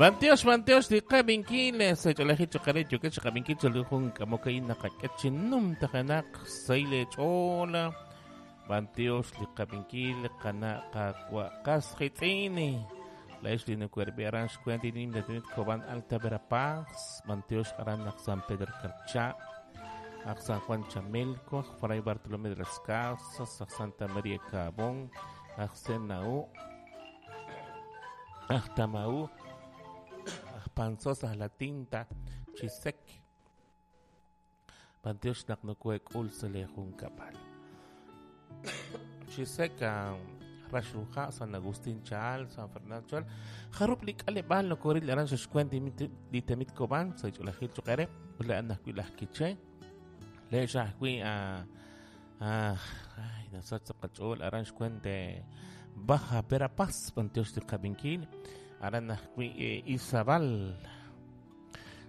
Bantiox, bantiox, li qab'inkil sa ch'oolejil choqere yookeb' chi qab'inkil chal jun k'amok a'in naqak'e chi numtajenaq xsahil eech'ool. Bantiox li qab'inkil qana' qawa' qas qitz'in. Laa'ex li nokohe'rab'i aran xweent li nimla tenamit Cobán Alta Verapaz, bantiox aran naq San Pedro Carchá, aj San Juan Chamelco, aj Fray Bartolomé de las Casas, aj Santa María Cabón, aj Senaú, aj Tamaú, aj Panzós, aj La Tinta, Chisec. Bantiox naq nokohe'k'ul sa' lee junkab'al. Chisec, Raxruja, San Agustín Chaal, San Fernando Chaal. Jarub' li k'aleb'aal nokoril aran sa' xweent li tenamit Cobán, sa' ch'oolejil choq' eere, ut laa'an ajwi' laj Quiché. Leex ajwi' ay, nasach sa' qach'ool aran xweent Baja Verapaz, bantiox li qab'inkil. Aran ajwi' Izabal.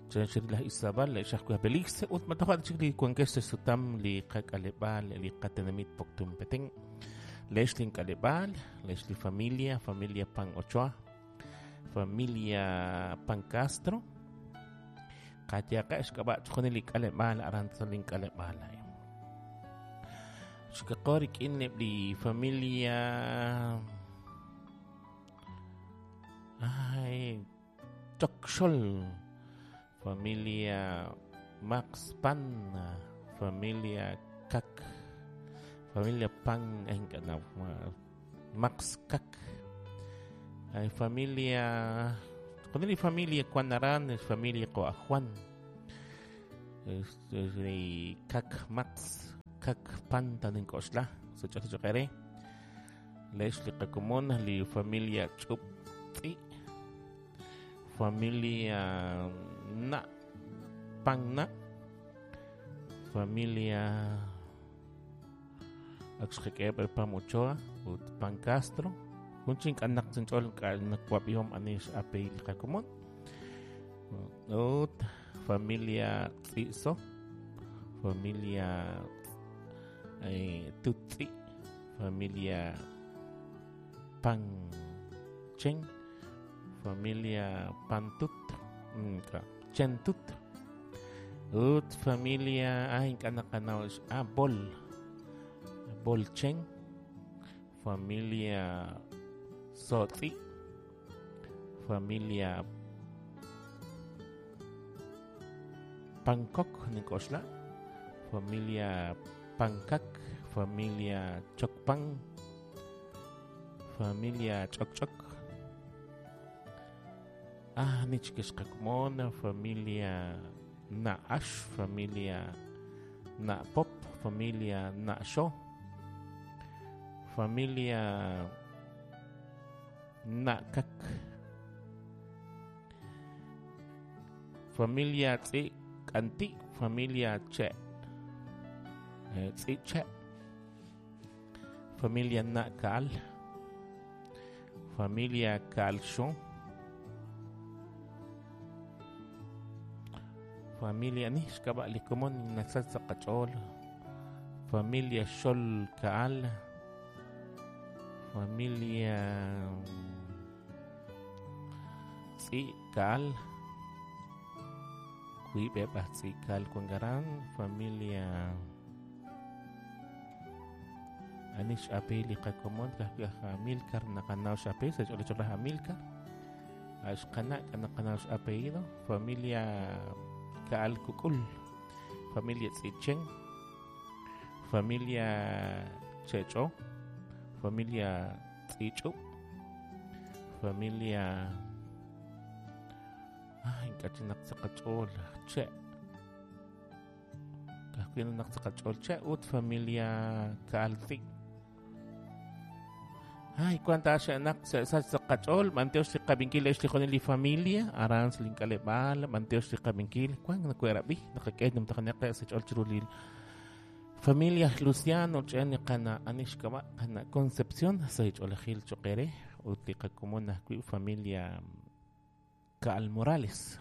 Chanchir laj Izabal, leex ajwi' Belice, ut matoja' chik li wankex sa' xsutam li qak'aleb'aal, li qatenamit Poptún Petén. Leex lin k'aleb'aal, leex li familia, familia Pan Ochoa, familia Pan Castro. Qayaqa xk'ab'a' chixjunil li k'aleb'aal aran sa' lin k'aleb'aal a'in. Xkaqo rik'in eb' li familia ay Chokxol, familia Max Pan, familia Kak, familia Pan, ay, no, Max Kak, ay, familia, con li familia Juan Aran, es familia Coa Juan, es Kak Max, Kak Pan, tanin Koxla, so chokere, lex li qakomon, li familia Chup Tzi, familia Na, Pan Na, familia Axjeq'eb' Pam Ochoa ut Pan Castro. Jun chin k'anaq chinch'ool k'anaq wab'ihom ani x'apellido li qakomon. Ut familia Tzizo, familia Tutsi, familia Pan Chen, familia Pantut, Chentut. Ut familia ay k'anaq Bol, Bolchen, familia Sotzi, familia Pancok Nicoxla, familia Pancac, familia Chocpan, familia Choc Choc. Ah, Nichkixqakmona, familia Naash, familia Napop, familia Nasho, familia Nakak, familia Tzi Kanti, familia Che, Tzi Che, familia Nakal, familia Kalsho, familia ni xk'ab'a' li komon nasach sa' qach'ool, familia Xol Kaal, familia Tzi Kaal, wiib'eb' aj Tzi Kaal wank aran, familia ani x'apellido li qakomon ka'ajwi' aj Amilcar naqanaw x'apellido sa' ch'oolej laj Amilcar, xqana' naqanaw x'apellido, familia Kaal Kukul, familia Tzichen, familia Checho, familia Tzichu, familia ay ink'a' naq sa' qach'ool Che, ka'ajwi' naq sa' qach'ool Che ut familia Kaal Tzi. Ay, cuánta xe'naq sa' sa' qach'ool, bantiox li qab'inkil leex li junil li familia, aran sa' link'aleb'aal, bantiox li qab'inkil, wan nakoherab'i, naqak'e numtajenaq sa' ch'ool chiru li familia Luciano, ch'en li qana ani xk'ab'a' qana Concepción, sa' ch'oolejil choqere, ut li qakomon ajwi' familia Kaal Morales.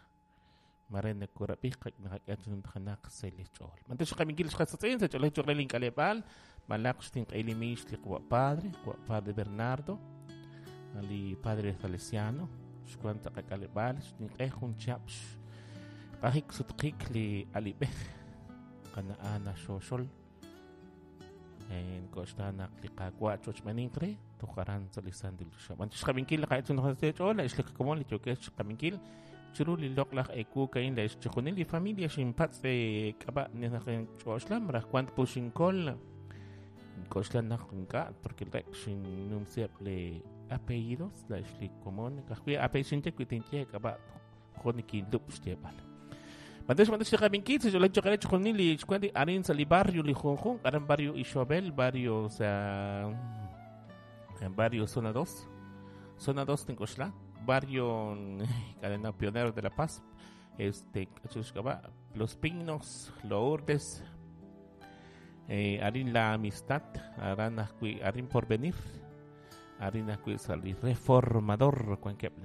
Mare nakorab'i naqak'e chi numtajenaq sa' li ch'ool. Bantiox li qab'inkil xqasatz'in sa' ch'oolejil choqere link'aleb'aal, malaq xtinq'e li mix li qawa' padre, qawa' padre Bernardo, li padre Salesiano, Xwank sa' qak'aleb'aal xninq'e jun chihab' xq'ajik sutqik li alib'ej qana' Ana Xoxol. Nk'oxla naq li Qaawa' chochb'enink re toj aran sa' li santil choxa. B'an chixqab'inkil li qa'etzun ch'ool la'ex li qakomon li yookex chixqab'inkil chiru li loq'laj ewu ka'in la'ex chixjunil li familia xinpatz' k'ab'a' naq ch'oxla malaj wank puxinkol nk'oxla naq ink'a' porque rek xinnumsiheb' li apellidos la'ex li komon ka'ajwi' apellido xinye wi tinye k'ab'a' jo' nikinlub' xyeeb'al. B'antiox b'antiox li qab'inkil sa' xch'oolej cho'q re chixjunil li xwank li arin sa' li barrio li junjunq aran barrio Ixobel, barrio sa barrio Zona 2, Zona 2 tink'oxla, barrio Cadena Pionero de la Paz, este xk'ab'a' Los Pinos, Lourdes, arin La Amistad, aran ajwi' arin Porvenir, arin ajwi' sa' li Reformador wankeb'.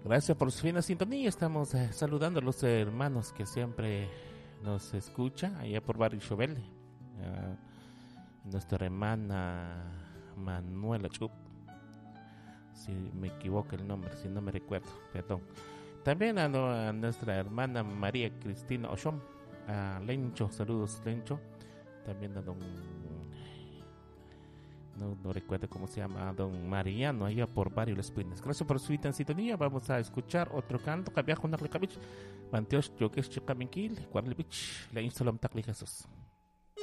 Gracias por su fina sintonía. Estamos saludando a los hermanos que siempre nos escuchan allá por Barrio Chobel. Nuestra hermana Manuela Chup, si me equivoco el nombre, si no me recuerdo, perdón. También a nuestra hermana María Cristina Oshom, a Lencho, saludos Lencho. También a don, no recuerdo cómo se llama, don Mariano, allá por Barrio Las Pinas. Gracias por su sintonía. Vamos a escuchar otro canto. Kabia Junaklikabich, Bantiosh, Yokesh, Chikabinkil, Cuarlibich, la Insolom Takli Jesús.